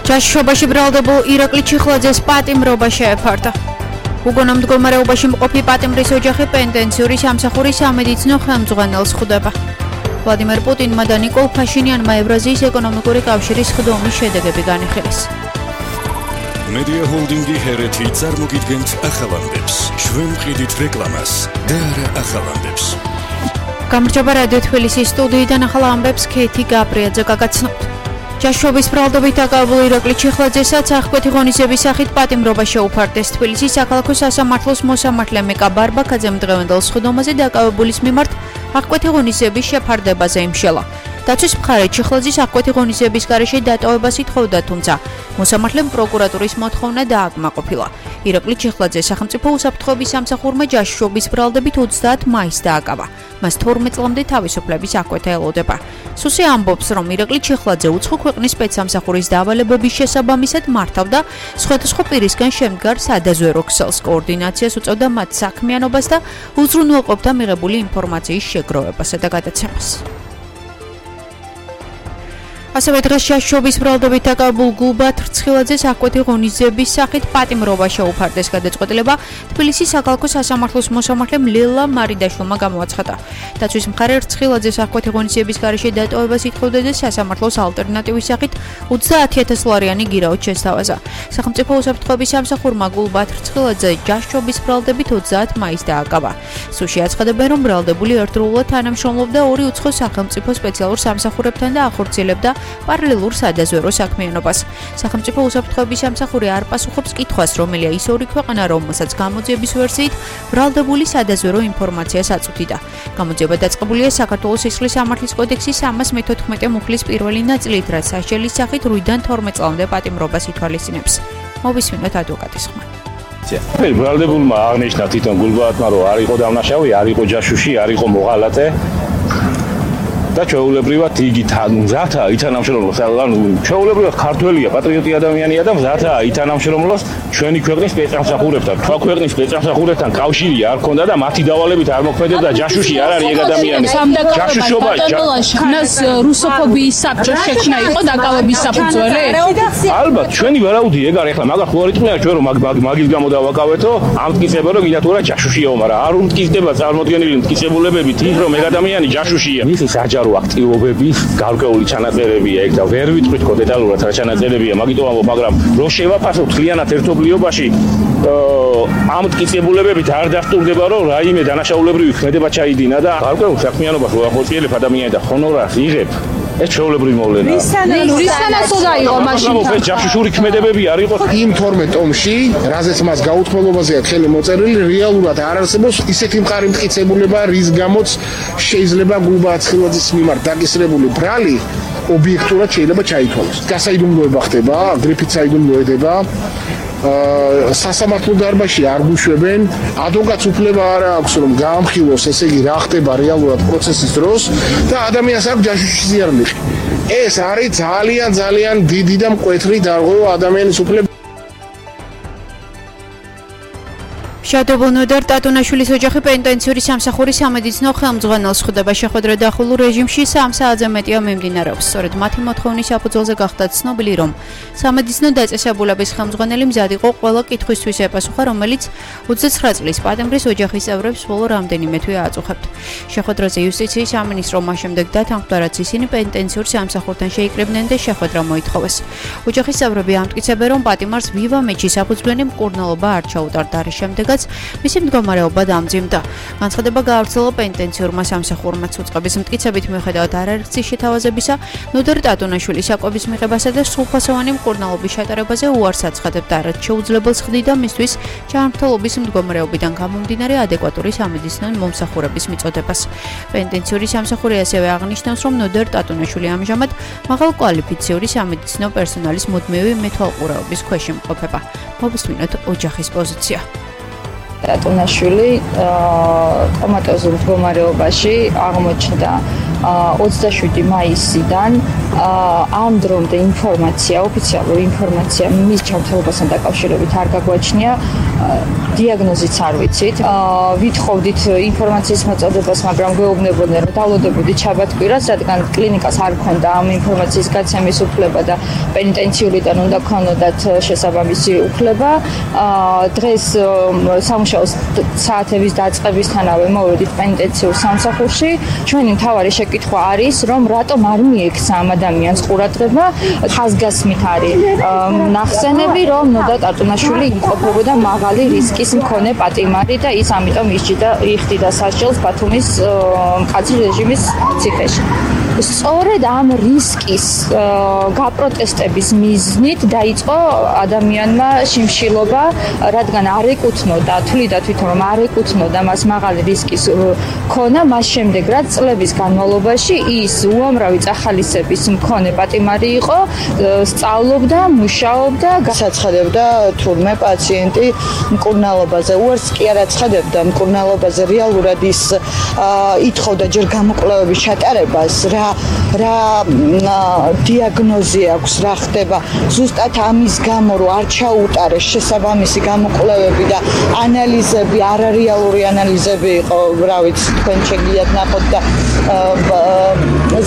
ჯაშუობაში ბრალდებულ ირაკლი ჩიხლაძეს პატიმრობა შეეფარდა. უგონო მდგომარეობაში მყოფი პატიმრის ოჯახი პენტენციური სამსახურის სამედიცინო ხელმძღვანელს ხვდება. ვლადიმერ პუტინმა და ნიკოლ ფაშინიანმა ევრაზიის ეკონომიკური კავშირის ხდომის შედეგები განიხილეს. მედია ჰოლდინგი ჰერეთი წარმოგიდგენთ ახალამდებს. ჩვენ ვყიდით რეკლამას და არა ახალამდებს. გამარჯობა რადიო თბილისის სტუდიიდან ახალამდებს ქეთი გაბრიაძე გაგაცნობთ. ჯაშუობის ბრალდებით დაკავებულ ირაკლი ჩიხლაძესაც აღკვეთი ღონისძიების სახით პატიმრობა შეუფარდეს. თბილისის საქალაქო სასამართლოს მოსამართლე მეკა ბარბაქაძემ დღევანდელ სხდომაზე დაკავებულის მიმართ აღკვეთი ღონისძიების შეფარდებაზე იმშელა. დაცვის მხარე ჩიხლაძის აღკვეთი ღონისძიების გარეშე დატოვებას ითხოვდა, თუმცა მოსამართლემ პროკურატურის მოთხოვნა დააკმაყოფილა. ირაკლი ჩიხლაძე სახელმწიფო უსაფრთხოების სამსახურმა ჯაშუობის ბრალდებით 30 მაისს დააკავა. მას 12 წლამდე თავისუფლების აღკვეთა ელოდება. სუსე ამბობს, რომ ირაკლი ჩიხლაძე უცხო ქვეყნის სპეცსამსახურის დავალებების შესაბამისად მართავდა სხვადასხვა პირისგან შემდგარ სადაზვერო ქსელს, კოორდინაციას უწევდა მათ საქმიანობას და უზრუნველყოფდა მიღებული ინფორმაციის შეგროვებასა და გადაცემას. ასევე დღეს ჯაშუობის ბრალდებით დაკავებულ გულბათ რცხილაძეს აღკვეთი ღონისძიების სახით პატიმრობა შეუფარდეს. გადაწყვეტილება თბილისის საქალაქო სასამართლოს მოსამართლემ ლელა მარიდაშვილმა გამოაცხადა. დაცვის მხარე რცხილაძეს აღკვეთი ღონისძიების გარეშე დატოვებას ითხოვდა და სასამართლოს ალტერნატივის სახით 30,000 ლარიანი გირაოდ შესთავაზა. სახელმწიფო უსაფრთხოების სამსახურმა გულბათ რცხილაძე ჯაშუობის ბრალდებით 30 მაისს დააკავა. სულში აცხადებენ, რომ ბრალდებული ერთდროულად თანამშრომლობდა ორი უცხო სახელმწიფო სპეციალურ სამსახურებთან და ახორციელებდა პარალელურ სადაზვერო საქმიანობას. სახელმწიფო უსაფრთხოების სამსახური არ პასუხობს კითხვას, რომელია ის ორი ქვეყანა, რომელსაც გამოძიების ვერსიით ბრალდებული სადაზვერო ინფორმაციას აწვდიდა. გამოძიება დაწყებულია საქართველოს სისხლის სამართლის კოდექსის 314 მუხლის პირველი ნაწილით, რაც სასჯელის სახით 8-დან 12 წლამდე პატიმრობას ითვალისწინებს. მოვისმინოთ ადვოკატის ხმა. ბრალდებულმა აღნიშნა თვითონ გულბათმა, რომ არ იყო დამნაშავე, არ იყო ჯაშუში, არ იყო მოღალატე. და ჩვეულებრივად იგი მზათა ითანამშრომლოს, ანუ ჩვეულებრივად ქართველია, პატრიოტი ადამიანია და მზათა ითანამშრომლოს ჩვენი ქვეყნის სპეცსამსახურებთან. თქვა ქვეყნის სპეცსამსახურებთან კავშირი არ ქონდა და მათი დავალებით არ მოქმედებდა. ჯაშუში არ არის ეგ ადამიანი. ჯაშუშობა ჯაშუშობას რუსოფობიის საბჭო შექმნა იყო დაკავების საფუძველი? ალბათ, ჩვენი ვარაუდი ეგ არის. ახლა მაგას ხო არ იტყვია ჩვენ რომ მაგის გამო დავაკავეთო, ამტკიცებო რომ გინდა თუ რა ჯაშუშიაო, მაგრამ არ უმტკიცდება წარმოდგენილი მტკიცებულებებით ის რომ ეგ ადამიანი ჯაშუშია. მისი საჯარო აქტივობების გარკვეული ჩანაწერებია ეგ და ვერ ვიტყვით ხო დეტალურად რა ჩანაწერებია, მაგიტომ ამბობ, მაგრამ რო შევაფასო თლიანად ერთობლიობაში ამ მტკიცებულებებით არ დასტურდება რომ რაიმე დანაშაულებრივი ქმედება ჩაიდინა და გარკვეულ საქმიანობას რო ახორციელებ ადამიანი და ჰონორარს იღებ. ეს ჩვეულებრივი მოვლენაა. რისთანაც უნდა იყო მაშინ? ეს ჯაშუშური ქმედებები არ იყო. იმ 12 ტომში, რაზეც მას გაუთქმელობაზეა ხელი მოწერილი, რეალურად არ არსებობს ისეთი მყარი მტკიცებულება, რის გამოც შეიძლება გულბათ რცხილაძის მიმართ დაკისრებული ბრალი ობიექტურად შეიძლება ჩაითვალოს. გასაიდუმლოება ხდება, გრიფით საიდუმლოება. სასამართლო დარბაზში არ გუშვებენ, ადვოკატს უფლება არ აქვს რომ გაამხილოს, ესე იგი რა ხდება რეალურად პროცესის დროს და ადამიანს აქვს ჯაშუში ზიარნიხი. ეს არის ძალიან დიდი და მკვეთრი დარღვევა ადამიანის უფლება. შადობილ ნოდარ ტატუნაშვილის ოჯახი პენტენციური სამსახურის სამედიცინო ხელმძღვანელს ხვდება. შეხვედრა დახურულ რეჟიმში 3 საათზე მეტია მიმდინარეობს. სწორედ მათი მოთხოვნის საფუძველზე გახდა ცნობილი, რომ სამედიცინო დაწესებულების ხელმძღვანელი მზად იყო ყველა კითხვისთვის ეპასუხა, რომელიც 29 წლის პატიმრის ოჯახის წევრებს ბოლო რამდენიმე თვე აწუხებთ. შეხვედრაზე იუსტიციის სამინისტრო მას შემდეგ დათანხმდა, რაც ისინი პენტენციურ სამსახურთან შეიკრიბნენ და შეხვედრა მოითხოვეს. ოჯახის წევრები ამტკიცებენ, რომ პატიმარს ვივამეთში საფუძვლიანი მკურნალობა არ ჩაუტარდა, რის შემდეგაც მისი მდგომარეობა დამძიმდა. განცხადება გაავრცელა პენტენციურმა სამსახურმაც. უწყების მტკიცებით მიუხედავად არაერთი შეთავაზებისა, ნოდარ ტატუნაშვილის საკვების მიღებასა და სრულფასოვანი მკურნალობის ჩატარებაზე უარს აცხადებდა, რაც შეუძლებელს ხდიდა მისთვის ჯანმრთელობის მდგომარეობიდან გამომდინარე ადეკვატური სამედიცინო მომსახურების მიწოდებას. პენტენციური სამსახური ასევე აღნიშნავს, რომ ნოდარ ტატუნაშვილი ამჟამად მაღალკვალიფიციური სამედიცინო პერსონალის მუდმივი მეთვალყურეობის ქვეშ იმყოფება. მოვისმინოთ ოჯახის პოზიცია. ტატუნაშვილი კომატოზურ მდგომარეობაში აღმოჩნდა 27 მაისიდან ამ დრომდე ოფიციალური ინფორმაცია მის ჯანმრთელობასთან დაკავშირებით არ გაგვაჩნია, დიაგნოზიც არ ვიცით. ვითხოვდით ინფორმაციის მოწოდებას, მაგრამ გვეუბნებოდნენ, რომ დავალდებოდით შაბათ-კვირას, რადგან კლინიკას არ ქონდა ამ ინფორმაციის გაცემის უფლება და პენიტენციურიდან უნდა ქონოდათ შესაბამისი უფლება. დღეს სამუშაო საათების დაწყებისთანავე მოვედით პენიტენციურ სამსახურში. ჩვენი მთავარი შეკითხვა არის, რომ რატომ არ მიექცა ამ ადამიანს ყურადღება, ხაზგასმით არის ნახსენები, რომ ნოდა ტარტუნაშვილი იმყოფებოდა მაღალი რისკის მქონე პატიმარი და ის ამიტომ იხდიდა სასჯელს ბათუმის მკაცრი რეჟიმის ციხეში. სწორედ ამ რისკის გაპროტესტების მიზნით დაიწყო ადამიანმა შიმშილობა, რადგან არ ეკუთვნოდა, თვლიდა თვითონ რომ არ ეკუთვნოდა მას მაღალი რისკის ქონა, მას შემდეგ რაც წლების განმავლობაში ის უამრავი წახალისების მქონე პატიმარი იყო, სწავლობდა, მუშაობდა, გააცხადებდა თურმე პაციენტი მკურნალობაზე. უარს კი არ აცხადებდა მკურნალობაზე, რეალურად ის ითხოვდა ჯერ გამოკვლევების ჩატარებას, რა დიაგნოზი აქვს, რა ხდება. ზუსტად ამის გამო, რომ არ ჩაუტარეს შესაბამისი გამოკვლევები და ანალიზები, არარეალური ანალიზები იყო, რა ვიცი, თქვენ შეგიძლიათ ნახოთ და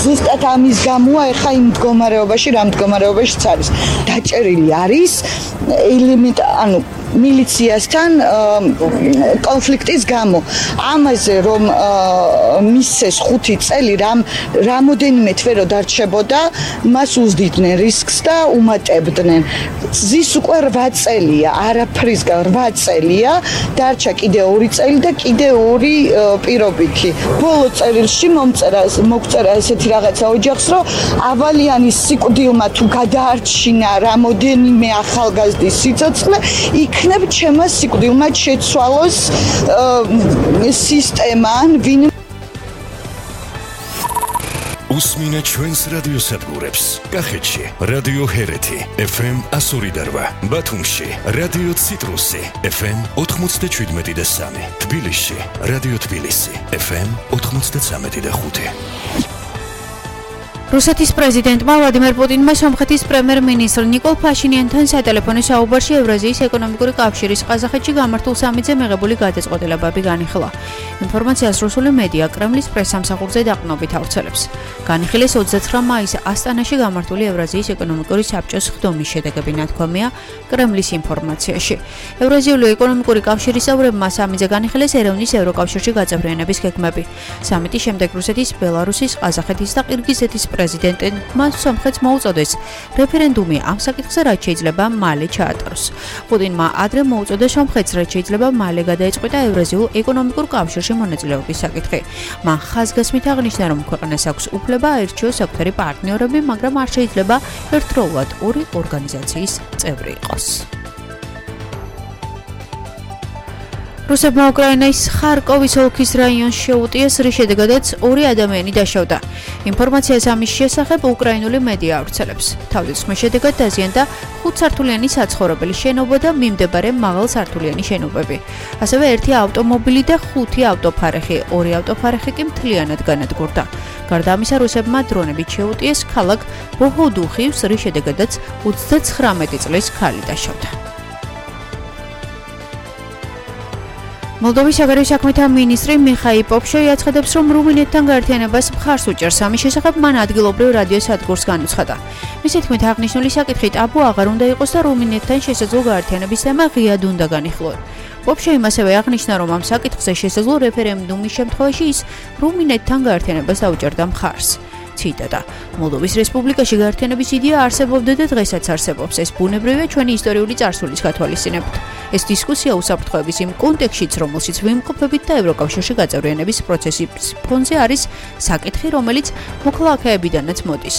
ზუსტად ამის გამოა ეხა იმ მდგომარეობაში, რა მდგომარეობაშიც არის. დაჭერილი არის მილიციასთან კონფლიქტის გამო. ამაზე რომ მისცეს 5 წელი რამოდენიმე თვე რო დარჩებოდა, მას უზდიდნენ რისკს და უმატებდნენ. ზის უკვე 8 წელია, არაფრისგან 8 წელია, დარჩა კიდე 2 წელი და კიდე 2 პირობითი. ბოლო წერილში მოგწერა ესეთი რაღაცა ოჯახს, რომ ავალიანის სიკვდილმა თუ გადაარჩინა რამოდენიმე ახალგაზრდის სიცოცხლე, იქნებ ჩემმა სიკვდილმა შეცვალოს სისტემა ან ვინ უსმინე ჩვენს რადიოსადგურებს. კახეთში რადიო ჰერეთი FM 102.8, ბათუმში რადიო ციტრუსი FM 97.3, თბილისში რადიო თბილისი FM 93.5. რუსეთის პრეზიდენტმა ვლადიმერ პუტინმა სომხეთის პრემიერ-მინისტრ ნიკოლ ფაშინიანთან სატელეფონო საუბარში ევრაზიის ეკონომიკური კავშირის ყაზახეთში გამართულ სამიტზე მიღებული გადაწყვეტილებები განიხილა. ინფორმაციას რუსული მედია კრემლის პრესსამსახურზე დაყრდნობით ავრცელებს. განიხილეს 29 მაისს ასტანაში გამართული ევრაზიის ეკონომიკური საბჭოს ხდომის შედეგები, ნათქვამია კრემლის ინფორმაციაში. ევრაზიული ეკონომიკური კავშირის წევრებმა სამიტზე განიხილეს ერევნის ევროკავშირში გაწევრიანების გეგმები. სამიტის შემდეგ რუსეთის, ბელარუსის, ყაზახეთის და ყირგიზეთის პრეზიდენტმა სომხეთს მოუწოდეს რეფერენდუმი ამ საკითხზე, რაც შეიძლება მალე ჩაატაროს. პუტინმა ადრე მოუწოდა სომხეთს, რაც შეიძლება მალე გადაეწყვიტა ევრაზიულ ეკონომიკურ კავშირში მონაწილეობის საკითხი. მან ხაზგასმით აღნიშნა, რომ ქვეყანას აქვს უფლება აერჩიოს საკუთარი პარტნიორები, მაგრამ არ შეიძლება ერთდროულად ორი ორგანიზაციის წევრი იყოს. რუსებმა უკრაინის ხარკოვის ოლქის რაიონს შეუტიეს, რის შედეგადაც 2 ადამიანი დაშავდა. ინფორმაციას ამის შესახებ უკრაინული მედია ავრცელებს. თავდასხმის შედეგად დაზიანდა 5-სართულიანი საცხოვრებელი შენობა და მიმდებარე მაღალსართულიანი შენობები. ასევე 1 ავტომობილი და 5 ავტოფარეხი, 2 ავტოფარეხი კი მთლიანად განადგურდა. გარდა ამისა, რუსებმა დრონებით შეუტიეს ქალაქ ბოჰოდუხივს, რის შედეგადაც 39 წლის ქალი დაშავდა. მოლდოვის საგარეო საქმეთა მინისტრი მიხაილ პოპშოი აცხადებს, რომ რუმინეთთან გაერთიანებას მხარს უჭერს. ამის შესახებ მან ადგილობრივ რადიო სადგურს განუცხადა. მისი თქმით, აღნიშნული საკითხი ტაბუ აღარ უნდა იყოს და რუმინეთთან შესაძლო გაერთიანების თემა ღიად უნდა განიხილონ. პოპშოიმ ასევე აღნიშნა, რომ ამ საკითხზე შესაძლო რეფერენდუმის შემთხვევაში ის რუმინეთთან გაერთიანებას დაუჭერდა მხარს. ციტატა: მოლდოვის რესპუბლიკაში გაერთიანების იდეა არსებობდა და დღესაც არსებობს. ეს ბუნებრივია ჩვენი ისტორიული წარსულის გათვალისწინებით. ეს დისკუსია უსაფრთხოების იმ კონტექსტშიც, რომელშიც ვიმყოფებით და ევროკავშირში გაწევრიანების პროცესის ფონზე არის საკითხი, რომელიც მოქალაქეებიდანაც მოდის.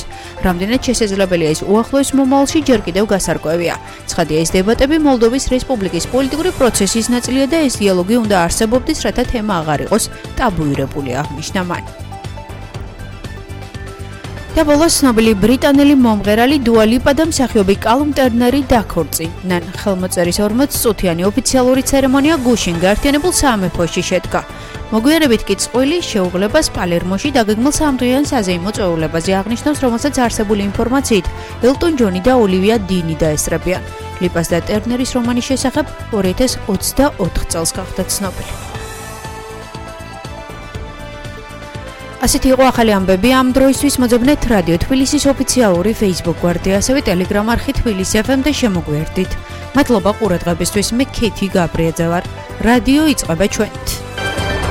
რამდენად შესაძლებელია ის უახლოეს მომავალში ჯერ კიდევ გასარკვევია. ცხადია, ეს დებატები მოლდოვის რესპუბლიკის პოლიტიკური პროცესის ნაწილია და ეს დიალოგი უნდა არსებობდეს, რათა თემა აღარ იყოს ტაბუირებული, აღნიშნა მან. და ბოლოს ცნობილი ბრიტანელი მომღერალი დუა ლიპა და მსახიობი კალუმ ტერნერი დაქორწინდნენ. ხელმოწერის 40 წუთიანი ოფიციალური ცერემონია გუშინ გაერთიანებულ სამეფოში შედგა. მოგვიანებით კი წყვილი შეუღლებას პალერმოში დაგეგმილ სამდღიან საზეიმო წვეულებაზე აღნიშნავს, რომელსაც არსებული ინფორმაციით ელტონ ჯონი და ოლივია დინი დაესწრებიან. ლიპას და ტერნერის რომანის შესახებ 2024 წელს გახდა ცნობილი. ასეთი იყო ახალი ამბები ამ დროისთვის. მოძებნეთ რადიო თბილისის ოფიციალური Facebook გვერდი, ასევე Telegram არხი თბილისი FM და შემოგვერდით. მადლობა ყურადღებისთვის. მე ქეთი გაბრიაძე ვარ. რადიო იწყება ჩვენით.